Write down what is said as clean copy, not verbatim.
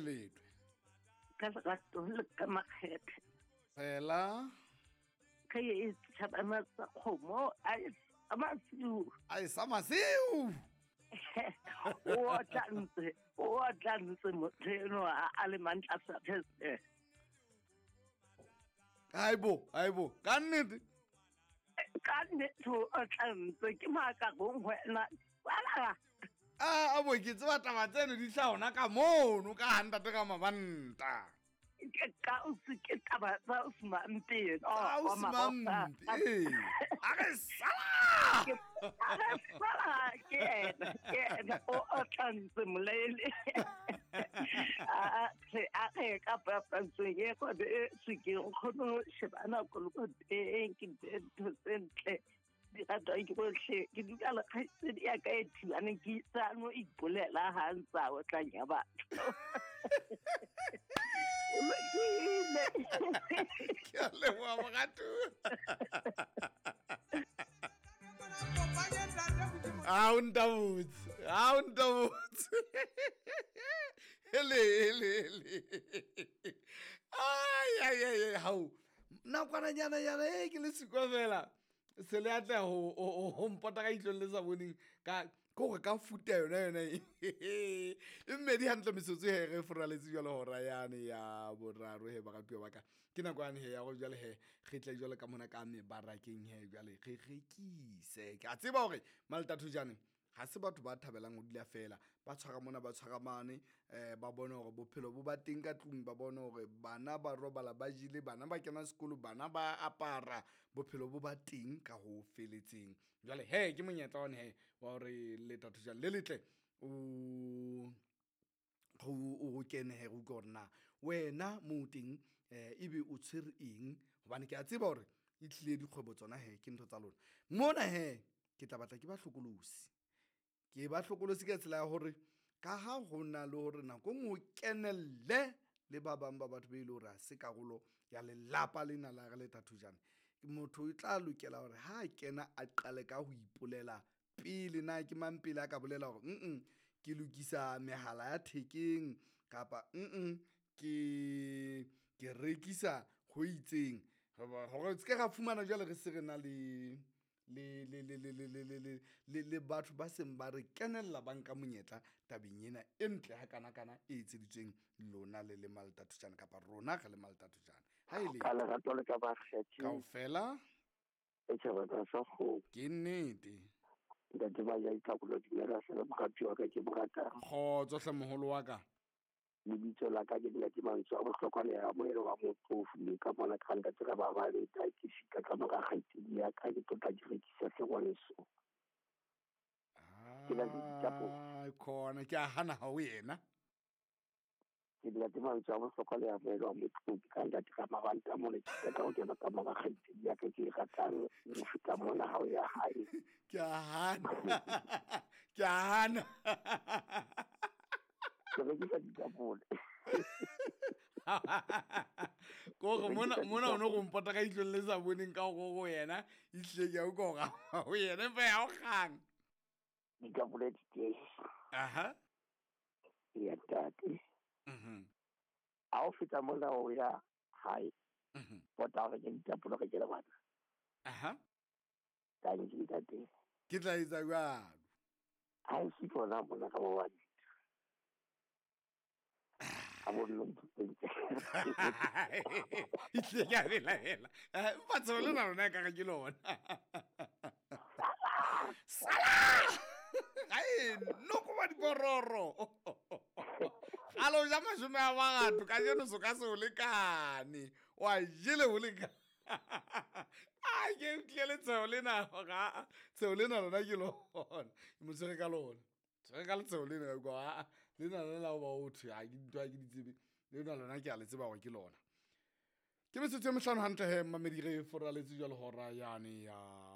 Kae letwe? Ka lerato le ka makgethe. Fela. Ka e tšhabana tsa kgomo a e sa masiu. A e sa masiu. O tla ntse, o tla ntse motho eno a le mantla sa phese. Haibo, haibo, ka nnete. Ka nnete o tla ntse ke maaka gong wena. Wala. A bo ke tseba taba tseno di tla ona ka mono ka ga ntate ka mabanta. Ke ka o se ke taba tsa o semampe. Tsa o semampe. Ee. A re sala. A re sala ke ena, ke ena o tla ntse molele. A a re ka papatsong e kgwebo e se ke o kgone go shebana kolokoteng ke ntho tse ntle di ratwang ke botlhe ke dula le kgaitsedi ya ka e thibaneng ke tsano ipolela ga ntse a otlang ya batho. Ke a leboha moratu. A o ntabotse, a o ntabotse. Hele, hele, hele. Ai, ai, ai, ai, hao. Nakwana nyana nyana e ke le sikwa fela. Se le atleha ho mpota ka itlong le sa boneng ka ke gore ka futa yona yona e. E mmedi hantle metsotso he re foraletse jwale hora yane ya boraro he baratuwa ba ka. Ke nako yane he ya gore jwale he re tle jwale ka mona ka mebarakeng he jwale re rekise. Ke a tseba hore Maltatho jane ha se batho ba thabelang ho dula fela ba tshwara mona ba tshwara mane, ba bone hore bophelo bo ba teng ka tlung, ba bone hore bana ba robala ba jele, bana ba kena sekolo, bana ba apara, bophelo bo ba teng ka ho feletseng. Jwale he ke monyetla one he wa hore Letatho jane le letle o o kene he re utlwe hore na wena moo teng ebe o tshwere eng, hobane ke a tseba hore e tlile dikgwebo tsona he ke ntho tsa lona. Mona he ke tla batla ke ba hlokolosi. Ke ba hlokolosi ka tsela ya hore ka ha ho na le hore nako nngwe o kenelle le ba bang ba batho be e le hore ha se karolo ya lelapa lena la re Letatho jane. Motho o tla lokela hore ha a kena a qale ka ho ipolela pele na ke mang pele a ka bolela hore ke lokisa mehala ya thekeng kapa ke rekisa ho itseng. Hore se ke ra fumana jwale re se re na le le le le le le le le le le le batho ba seng ba re kenella ba nka monyetla tabeng ena e ntle ha kana kana e etseditsweng lona le le Maltatho jane kapa rona re le Maltatho jane. Ha e le ka lerato le ka ba kgethe kaofela e tjhaba tsa sa kgomo. Ke nnete. Ntate ba ya itlhakolo dumela se le morati wa ka ke mo ratang. Kgotso hle moholo wa ka. Lebitso la ka ke Ntate Mantswe a bohlokwa le ya moelo wa motho o fumeng ka mona ka ntate ka ba ba le ta ke fika ka mora kgaitsedi ya ka ke tlotla di rekisa hle ngwaneso. Ke na le ditapole. Ah, khona ke a hana ha o yena. Ke Ntate Mantswe a bohlokwa le ya moelo wa motho ka ntate ka mabanta mona ke ka ho kena ka mora kgaitsedi ya ka ke e ratang ho feta mona ha o ya hae. Ke a hana. Ke a hana. Ke rekisa ditapole. Kore mona mona o no go mpota ka itlong le sa boneng ka go go yena, ehlile ke a utlwa hore ho yena empa ya o kgang. Ditapole di teng. Aha. Ya ntate. Ha o feta mona o ya hae. Pota hore ke ditapole re ke le bana. Aha. Thank you, ntate. Ke tla etsa jwalo. Ha e se tsona mona ka mo wa A bo nna ntho. Ehlile ke a belaela. Empa tshebo lena lona ekare ke lona. Sala! Ga e noko ba dipororo. Gale o ja mashome a mangata, kajeno so ka se o lekane. Wa jele ho lekane. A ke tlile letshwao lena, ga tsheo lena lona ke lona. Ke mo tshwere ka lona. Tshwere ka letshwao lena, ka utlwa, aa, lena lona la ho ba o thwe, ha ke ntho ha ke di tsebe. Lena lona ke a le tseba hore ke lona. Ke metsotso e mehlano hantle he, mmamedi, re foraletse jwale hora yane ya